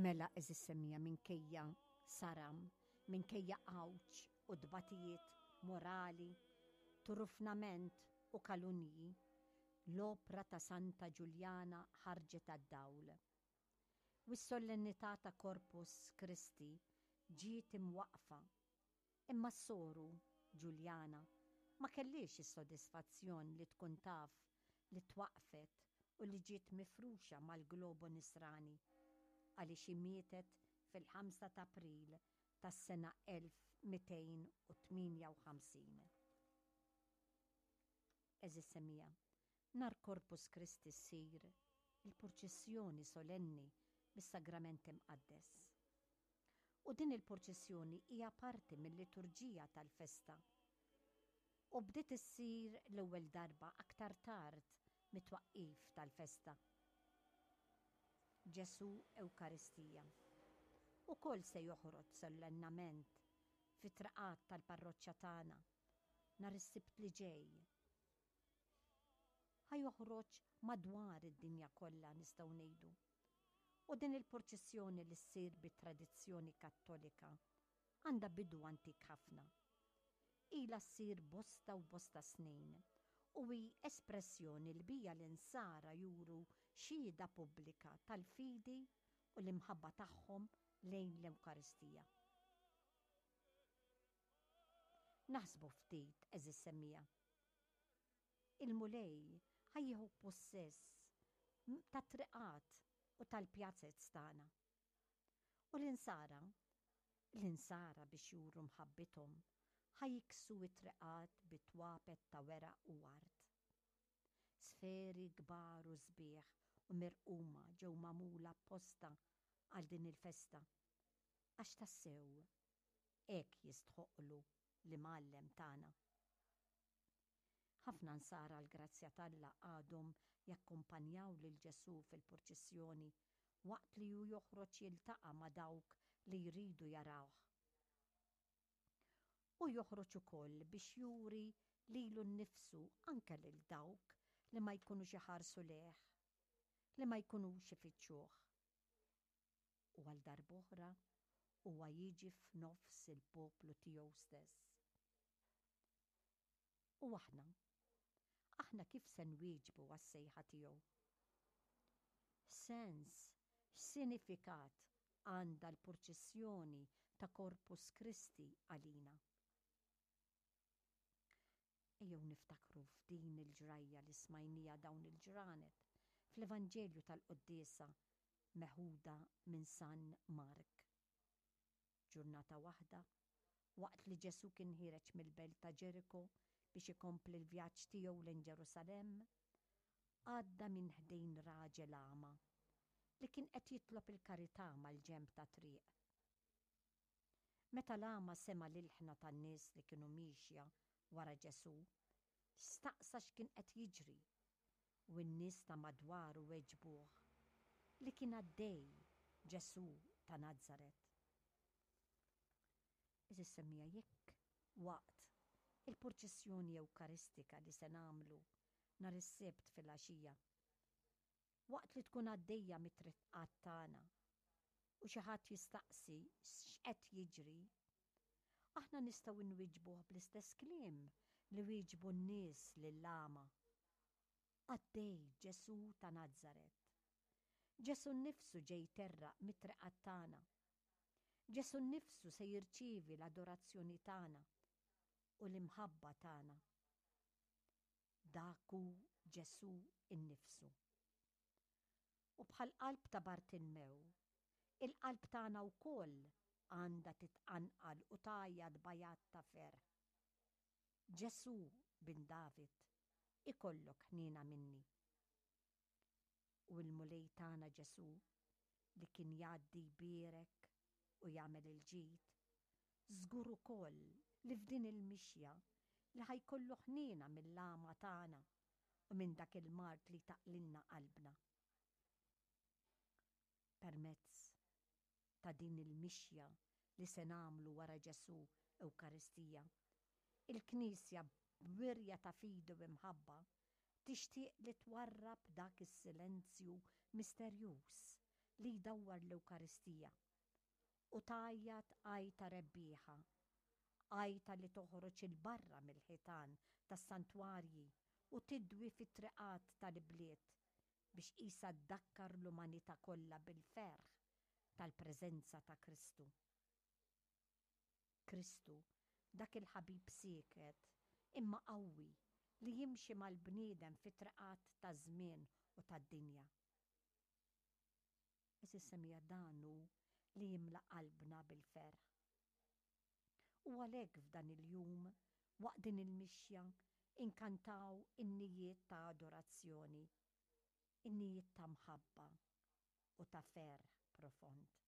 Mela għeżież semmiegħa minkejja saram, minkejja għawġ u tbatijiet morali, turufnament u kalunji, l-opra ta' Santa Ġuljana ħarġet għad-dawl. U s-sollennità ta' Corpus Christi ġiet imwaqqfa. Imma s-soru, Ġuljana, ma kellhiex is-sodisfazzjon li tkun taf li twaqqfet u li ġiet mifruxa mal-globu Nisrani, għaliex hi mietet fil-ħamsa t'April tas-sena 1258. Għeżież semmiegħa, nhar Corpus Christi ssir il-purċissjoni solenni bis-Sagrament Imqaddes. U din il-purċissjoni hija parti mil-liturġija tal-festa u bdiet issir l-ewwel darba aktar tard mit-twaqqif tal-festa. Ġesù Ewkaristija ukoll se joħroġ sollennament fit-traqat tal-parroċċa tagħna nhar is-Sibt li ġej. Ħa joħroġ madwar id-dinja kollha nistgħu ngħidu. U din il-purċissjoni li ssir bit-tradizzjoni Kattolika għandha bidu antik ħafna. Ilha ssir bosta u bosta snin u hi espressjoni li biha l-Insara juru xhieda pubblika tal-fidi u l-imħabba tagħhom lejn l-Ewkaristija. Naħsbu ftit, għeżież semmiegħa. Il-Mulej ħa jieħu pussess tat-triqat u tal-pjazez tagħna. U l-insara, l-insara biex juru mħabbithom, ħa jiksu t-triqat bi twapet ta' weraq u ward. Sferi kbar u sbieħ u mirquma ġew magħmula apposta għal din il-festa, għax tassew hekk jistħoqqlu l-Imgħallem tagħna. Ħafna Nsara għall-grazzja t'Alla għadhom jakkumpanjaw lil Ġesù fil-purċissjoni waqt li hu joħroġ jiltaqa' ma' dawk li jridu jarawh. Hu joħroġ ukoll biex juri lilu nnifsu anke lil dawk li ma jkunux iħarsu lejh, li ma jkunux ifittxuh. U għal darb'oħra huwa jiġi f'nofs il-poplu tiegħu stess. U aħna? Aħna kif se nwieġbu għas-sejħa tiegħu? X'sens, x'sinifikat għandha l-purċissjoni ta' Corpus Christi għalina? Ejjew niftakru f'din il-ġrajja li smajniha dawn il-ġranet fl-Evanġelju tal-Quddiesa meħuda minn San Mark. Ġurnata waħda, waqt li Ġesù kien ħiereġ mill-belt ta' Ġeriko biex ikompli l-vjaġġ tiegħu lejn Ġerusalemm, għadda minn ħdejn raġel agħma li kien qed jitlob il-karità mal-ġenb tat-triq. Meta l-agħma sema' l-ilħna tan-nies li kienu miexja wara Ġesù, staqsa x'kien qed jiġri, u n-nies ta' madwaru weġbuh li kien għaddej Ġesù ta' Nazaret. Għeżież semmiegħa, jekk waqt il-purċissjoni Ewkaristika li se nagħmlu nhar is-Sibt filgħaxija, waqt li tkun għaddejja mit-triqat tagħna u xi ħadd jistaqsi x'qed jiġri, aħna nistgħu nwieġbuh bl-istess kliem li wieġbu n-nies lill-agħma. Għaddej Ġesù ta' Nazaret. Ġesù nnifsu ġej jterraq mit-triqat tagħna. Ġesù nnifsu se jirċievi l-adorazzjoni tagħna u l-imħabba tagħna. Dak hu Ġesù nnifsu. U bħall-qalb ta' Bartilmew, il-qalb tagħna wkoll għandha titqanqal u tgħajjat b'għajat ta' ferħ. Ġesù, Bin David, ikollok ħniena minni. U l-Mulej tagħna Ġesù, li kien jgħaddi jbierek u jagħmel il-ġid, żgur ukoll li f'din il-mixja li ħa jkollu ħniena mill-għama tagħna u minn dak il-mard li jtaqqlilna qalbna. Permezz ta' din il-mixja li se nagħmlu wara Ġesù Ewkaristija, il-Knisja b'wirja ta' fidi u imħabba tixtieq li twarrab dak is-silenzju misterjuż li jdawwar l-Ewkaristija u tgħajjat għajta rebbieħa, għajta li toħroġ 'il barra mill-ħitan tas-santwarji u tidwi fit-triqat tal-ibliet biex qisha ddakkar l-umanità kollha bil-ferħ tal-preżenza ta' Kristu. Kristu, dak il-ħabib sieket imma qawwi li jimxi mal-bniedem fit-triqat taż-żmien u tad-dinja. Għeżież semmiegħa dan hu li jimla qalbna bil-ferħ. U għalhekk f'dan il-jum, waqt din il-mixja, inkantaw innijiet ta' adorazzjoni, innijiet ta' mħabba u ta' ferħ profond.